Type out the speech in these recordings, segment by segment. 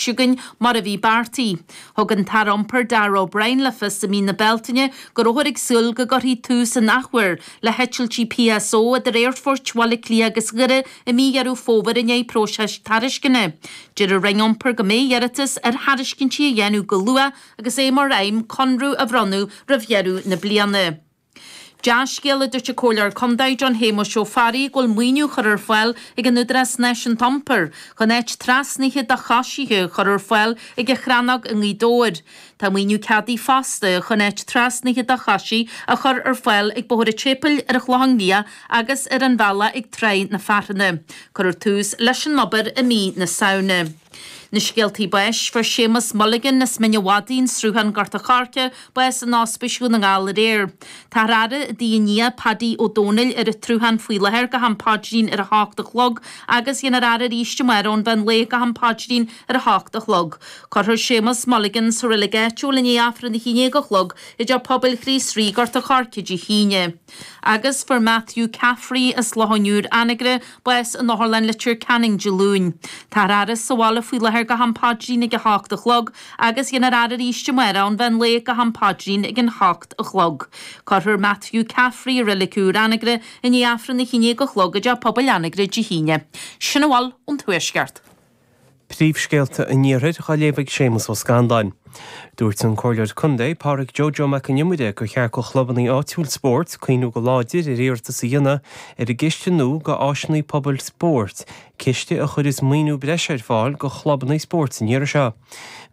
Chugainn mar a bhí beartaithe. Thug an tAire Iompair Darragh O'Brien le fios i mí na Bealtaine go rabhthar ag súil go gcuirfí tús an athuair le heitiltí PSO idir aerfoirt Bhaile Átha Cliath agus Dhoire i mí Dheireadh Fómhair i ndiaidh próiseas tairisceana. Deir an Roinn Iompair go mbeidh iarratas ar thairiscintí á dhéanamh go luath agus é mar aidhm conradh a bhronnadh roimh dheireadh na bliana. Dea-scéal a dúirt an Comhairleoir Contae John Shéamuis Ó Fearraigh go bhfuil maoiniú á chur ar fáil ag an Údarás Náisiúnta Iompair chun áit trasnaithe do choisithe a chur ar fáil ag an Chrannóg i nGaoth Dobhair. Tá maoiniú ceadaithe fosta chun áit trasnaithe do choisithe a chur ar fáil ag Bóthar an tSéipéil ar an Chlochán Liath agus ar an bhealach ag Tráigh na Fearthanna. Cuirfear tús leis an obair i mí na Samhna. Na scéaltaí báis, Fuair Séamus Mulligan as Mín a' Mhadaidh, An Sruthán, Gort a' Choirce, bás in Ospís Dhún na nGall aréir. Táthar á fhaire i dtigh a nia, Paddy Ó Dónaill, ar an tSruthán faoi láthair go ham paidrín ar a hocht a chlog agus dhéanfar faire arís amárach ón mheán lae go ham paidrín ar a hocht a chlog. Cuirfear Séamus Mulligan sa reilig áitiúil i ndiaidh Aifreann a haon déag a chlog i dTeach Pobail Chríost Rí, Gort a' Choirce Dé hAoine. Agus fuair Matthew Caffrey as Loch an Iúir, Anagaire, bás in Otharlann Leitir Ceanainn Dé Luain. Táthar á fhaire sa bhaile faoi láthair go ham paidrín ag a hocht a chlog agus dhéanfar faire arís amárach ón mheán lae go ham paidrín ag an hocht a chlog. Cuirfear Matthew Caffrey i Reilig Úr Anagaire i ndiaidh Aifreann a haon déag a chlog i dTeach Pobail Anagaire Dé hAoine. Sin a bhfuil ón Tuaisceart. Príomhscéalta an Iarthair á léamh ag Séamus Ó Scanláin. Dúirt an Comhairleoir Contae, Pádraig Joe Joe Mac an Iomaire gur cheart go chlubanna áitiúil spóirt cuimhniú go láidir ar iarratas a dhéanamh ar an gciste nua go áiseanna pobail spóirt, ciste a chuirfeas maoiniú breise ar fáil go chlubanna spóirt an iarraidh seo.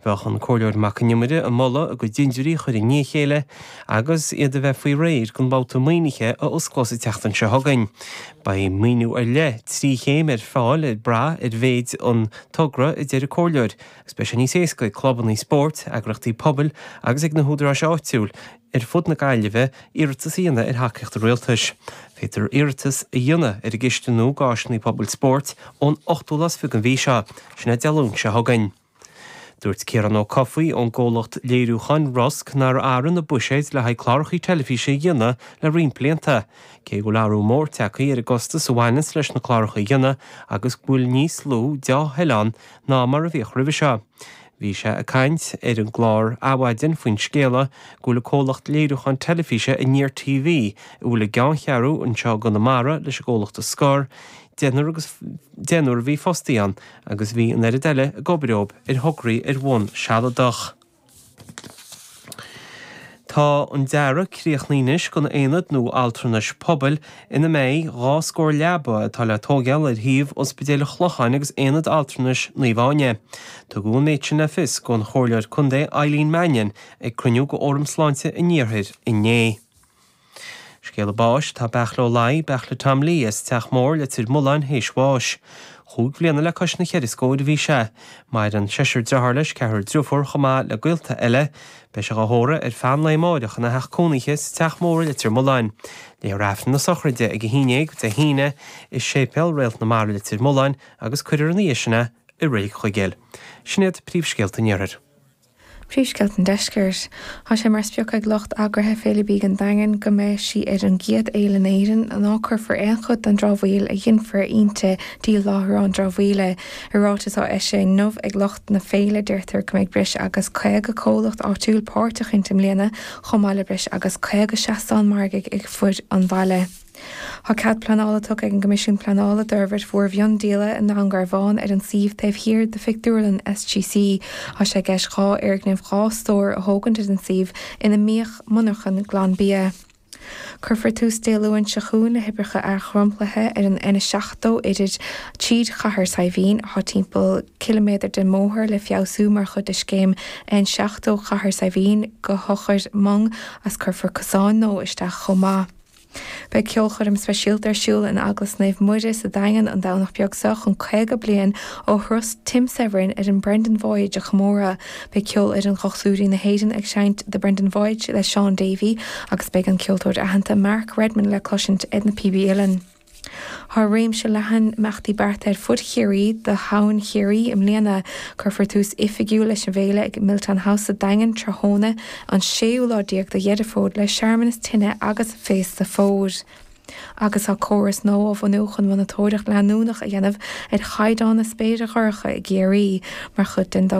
Bheadh an Comhairleoir Mac an Iomaire ag moladh a gcuid dintiúirí a chur i ndiaidh a chéile agus iad a bheith faoi réir don bhabhta maoinithe a osclós an tseachtain seo chugainn. Beidh maoiniú ar leith, 3 chéim ar fáil ag brath ar mhéid an togra, a deir an Comhairleoir, agus beidh sé níos éasca ag clubanna spóirt, eagraíochtaí pobail agus ag na húdaráis áitiúil ar fud na Gaillimhe iarratas a dhéanamh ar thacaíocht an Rialtais. Féadtar iarratas a dhéanamh ar an gciste nua d'áiseanna pobail spóirt ón ochtú lá is fiche den mhí seo, sin é Dé Luain seo chugainn. Dúirt Ciarán Ó Cofaigh ón gcomhlacht léiriúcháin Rosg nár athraigh na buiséid le haghaidh cláracha teilifíse a dhéanamh le roinnt blianta, cé go bhfuil athrú mór tagtha ar an gcostas a bhaineanns leis na cláracha a dhéanamh agus go bhfuil níos lú deá-thoil ann ná mar a bhíodh roimhe seo. Bhí sé ag caint ar an gclár Adhmhaidin faoin scéala go bhfuil an comhlacht léiriúcháin teilifíse Aniar TV, a bhfuil a gceanncheathrú anseo i gConamara, leis an gcomhlacht a scor, deichniúr agus deichniúr a bhí fostaithe ann agus bhí an oiread eile ag obair dóibh ar thograí ar bhonn sealadach. Tá an dearadh críochnaithe anois don aonad nua altranais pobail ina mbeidh 2 scór leaba atá le tóigeáil ar shuíomh Ospidéal an Chlocháin agus Aonad Altranais Naomh Áine. Tugadh an méid sin le fios don Chomhairleoir Contae Eileen Mannion ag cruinniú de Fhóram Sláinte an Iarthair inné. Scéala báis, Tá Beartla Ó Laoi, Beartla Tom Lee, as Teach Mór, Leitir Mealláin, théis bháis. Chúig bhliana le cois na cheithre scóir a bhí sé. Maireann seisear dearthár leis, ceathrar driofúr, chomh maith le gaolta eile. Beidh sé dhá thórramh ar feadh an lae amáireach ina theach cónaithe sa Teach Mór i Leitir Mealláin. Léifear Aifreann na sochraide ag 11 Dé hAoine i Séipéal Réalt na Mara Leitir Mealláin agus cuirfear ina dhiaidh sin é i Reilig Chuigéil. Sin iad príomhscéalta an Iarthair. Príomhscéalta an Deiscirt. Tá sé mar sprioc ag lucht eagraithe Féile Bídh an Daingin go mbeidh sí ar an gcéad fhéile in Éirinn ná cuirfear aon chuid den dramhaíl a ghinfear inti dtí láithreán dramhaíola. I ráiteas á eisiúint inniu ag lucht na féile deirtear go mbeidh breis agus 50 comhlacht áitiúil páirteach inti i mbliana chomh maith le breis agus 50 seastán margaidh ar fud an bhaile. Tá cead pleanála tugtha ag an gCoimisiún Pleanála d'fhorbairt mhór mhiondíola i nDún Garbhán ar an suíomh taobh thiar de phictiúrlann SGC. Tá sé i gceist 2 fhoirgneamh 2 stór a thógaint ar an suíomh ina mbíodh monarchan Glanbia. Cuirfear tús Dé Luain seo chugainn le hoibreacha athdhromchlaithe ar an N70 idir tríd Chathair Saidhbhín. Tá timpeall ciliméadar den mbóthar le feabhsú mar chuid de scéim N70 Chathair Saidhbhín go hEochair Mhong agus cuirfear cosáin nua isteach chomh maith. Beidh ceolchoirm speisialta ar siúl in Eaglais Naomh Muire sa Daingean an Domhnach beag seo chun 50 bliain ó thuras Tim Severin ar an Brendan Voyage a chomóradh. Beidh Ceolfhoireann Dhochtúirí na hÉireann ag seinnt The Brendan Voyage le Shaun Davey agus beidh an ceoltóir aitheanta Mark Redmond le cloisint ar na píobaí uilleann. Tá réimse leathan imeachtaí beartaithe ar fud Chiarraí do Shamhain Chiarraí i mbliana. Cuirfear tús oifigiúil leis an bhféile ag Milltown House sa Daingean tráthnóna an séú lá déag de Dheireadh Fómhair le searmanas tine agus féasta fómhair. Agus tá córas nua á bhunú chun monatóireacht leanúnach a dhéanamh ar chaighdeán na spéire dorcha i gCiarraí mar chuid den dtogra.